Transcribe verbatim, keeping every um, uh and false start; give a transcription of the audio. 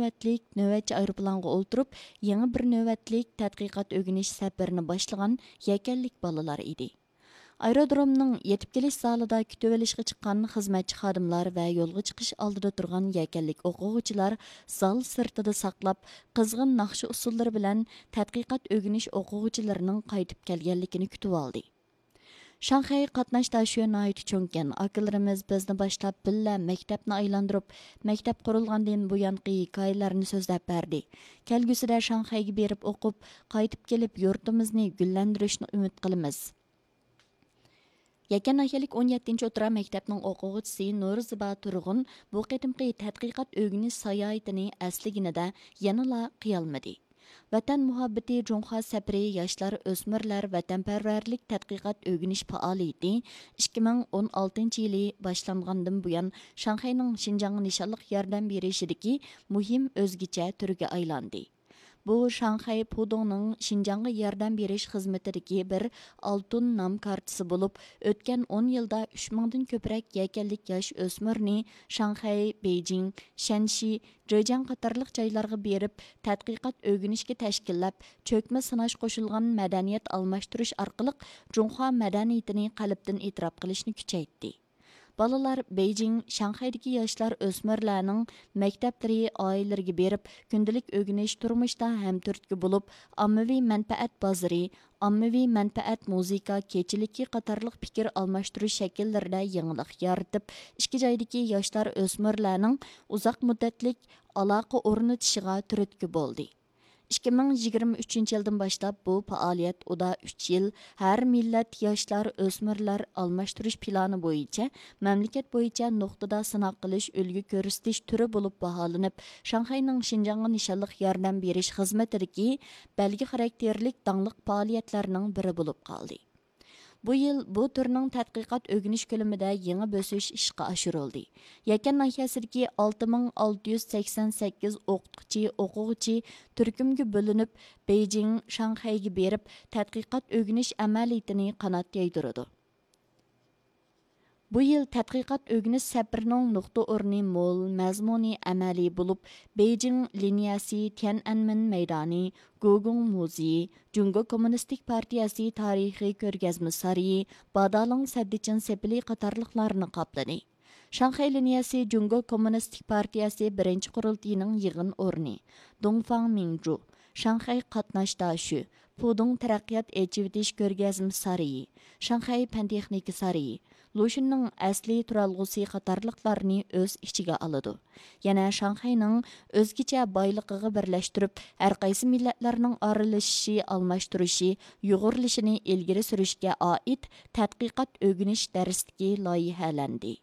نۆۋەتلىك نۆۋەتچى ئايروپىلانغا ئولتۇرۇپ، يېڭى بىر نۆۋەتلىك تەتقىقات ئۆگىنىش سەپىرىنى باشلىغان يەكەنلىك بالىلار ئىدى. ئايرودرومنىڭ يېتىپ كېلىش زالىدا كۈتۈۋېلىشقا چىققان خىزمەتچى خادىملار ۋە يولغا چىقىش ئالدىدا تۇرغان يەكەنلىك ئوقۇغۇچىلار زال سىرتىدا ساقلاپ، قىزغىن ناخشا ئۇسسۇللىرى بىلەن تەتقىقات ئۆگىنىش ئوقۇغۇچىلىرىنىڭ قايتىپ كەلگەنلىكىنى كۈتۈۋالدى. شاڭخەي قاتناش داشۆ ناھايىتى چوڭكەن. ئاكىلىرىمىز بىزنى باشلاپ بىللە مەكتەپنى ئايلاندۇرۇپ، مەكتەپ قۇرۇلغاندىن بۇيانقى ھېكايىلەرنى سۆزلەپ بەردى. كەلگۈسىدە شاڭخەيگە بېرىپ ئوقۇپ، قايتىپ كېلىپ يۇرتىمىزنى گۈللەندۈرۈشنى ئۈمىد قىلىمىز. يەكەن ناھىيەلىك ئون يەتتىنچى ئوتتۇرا مەكتەپنىڭ ئوقۇغۇچىسى نۇرزىبا تۇرغۇن بۇ قېتىمقى تەتقىقات ئۆگىنىش ساياھىتىنى ئەسلىگىنىدە يەنىلا قىيالمىدى. ۋەتەن مۇھەببىتى جۇڭخۇا سەپىرى ياشلار، ئۆسمۈرلەر ۋەتەنپەرۋەرلىك تەتقىقات ئۆگىنىش پائالىيىتى ئىككى مىڭ ئون ئالتىنچى يىلى باشلانغاندىن بۇيان، شاڭخەينىڭ شىنجاڭغا نىشانلىق ياردەم بېرىشىدىكى مۇھىم ئۆزگىچە تۈرگە ئايلاندى. بۇ شاڭخەي پۇدۇڭنىڭ شىنجاڭغا ياردەم بېرىش خىزمىتىدىكى بىر ئالتۇن نام كارتىسى بولۇپ، ئۆتكەن ئون يىلدا ئۈچ مىڭدىن كۆپرەك يەكەنلىك ياش ئۆسمۈرنى شاڭخەي، بېيجىڭ، شەنشى، جېجياڭ قاتارلىق جايلارغا بېرىپ، تەتقىقات ئۆگىنىشكە تەشكىللەپ، چۆكمە سىناش قوشۇلغان مەدەنىيەت ئالماشتۇرۇش ئارقىلىق جۇڭخۇا مەدەنىيىتىنى قەلبتىن ئېتىراپ قىلىشنى كۈچەيتتى. بالىلار بېيجىڭ، شاڭخەيدىكى ياشلار، ئۆسمۈرلەرنىڭ مەكتەپلىرى، ئائىلىلىرىگە بېرىپ، كۈندىلىك ئۆگىنىش، تۇرمۇشتا ھەمتۈرتكە بولۇپ، ئاممىۋى مەنپەئەت بازىرى، ئاممىۋى مەنپەئەت مۇزىكا كېچىلىكى قاتارلىق پىكىر ئالماشتۇرۇش شەكىللىرىدە يېڭىلىق يارىتىپ، ئىككى جايدىكى ياشلار، ئۆسمۈرلەرنىڭ ئۇزاق مۇددەتلىك ئالاقە ئورنىتىشىغا تۈرتكە بولدى. ئىككى مىڭ يىگىرمە ئۈچىنچى يىلدىن باشلاپ بۇ پائالىيەت ئۇدا ئۈچ يىل، ھەر مىللەت ياشلار، ئۆسمۈرلەر ئالماشتۇرۇش پىلانى بويىچە مەملىكەت بويىچە نۇقتىدا سىناق قىلىش، ئۈلگە كۆرسىتىش تۈرى بولۇپ باھالىنىپ، شاڭخەينىڭ شىنجاڭغا نىشانلىق ياردەم بېرىش خىزمىتىدىكى بەلگە خاراكتېرلىك داڭلىق پائالىيەتلەرنىڭ بىرى بولۇپ قالدى. بۇ يىل بۇ تۈرنىڭ تەتقىقات ئۆگىنىش كۆلىمىدە يېڭى بۆسۈش ئىشقا ئاشۇرۇلدى. يەكەن ناھىيەسىدىكى ئالتە مىڭ ئالتە يۈز سەكسەن سەككىز ئوقۇتقۇچى، ئوقۇغۇچى تۈركۈمگە بۆلۈنۈپ، بېيجىڭ، شاڭخەيگە بېرىپ، تەتقىقات ئۆگىنىش ئەمەلىيىتىنى قانات يايدۇرىدۇ. بۇ يىل تەتقىقات ئۆگىنىش سەپىرىنىڭ نۇقتا ئورنى مول، مەزمۇنى ئەمەلىي بولۇپ، بېيجىڭ لىنىيەسى، تيەنئەنمېن مەيدانى، گوگۇڭ مۇزېيى، جۇڭگو كوممۇنىستىك پارتىيەسى تارىخىي كۆرگەزمە سارىيى، بادالىڭ سەددىچىن سېپىلى قاتارلىقلارنى قاپلىدى. شاڭخەي لىنىيەسى جۇڭگو كوممۇنىستىك پارتىيەسى بىرىنچى قۇرۇلتىيىنىڭ يىغىن ئورنى، دۇڭفاڭ مىڭجۇ، شاڭخەي قاتناش داشۆ، پۇدۇڭ تەرەققىيات ئېچىۋېتىش كۆرگەزمە سارىيى، شاڭخەي پەن تېخنىكا سارىيى، لۇشۈننىڭ ئەسلى تۇرالغۇسى قاتارلىقلارنى ئۆز ئىچىگە ئالىدۇ. يەنە شاڭخەينىڭ ئۆزگىچە بايلىقىغا بىرلەشتۈرۈپ، ھەرقايسى مىللەتلەرنىڭ ئارىلىشىشى، ئالماشتۇرۇشى، يۇغۇرۇلۇشىنى ئىلگىرى سۈرۈشكە ئائىت تەتقىقات ئۆگىنىش دەرسلىكى لايىھەلەندى.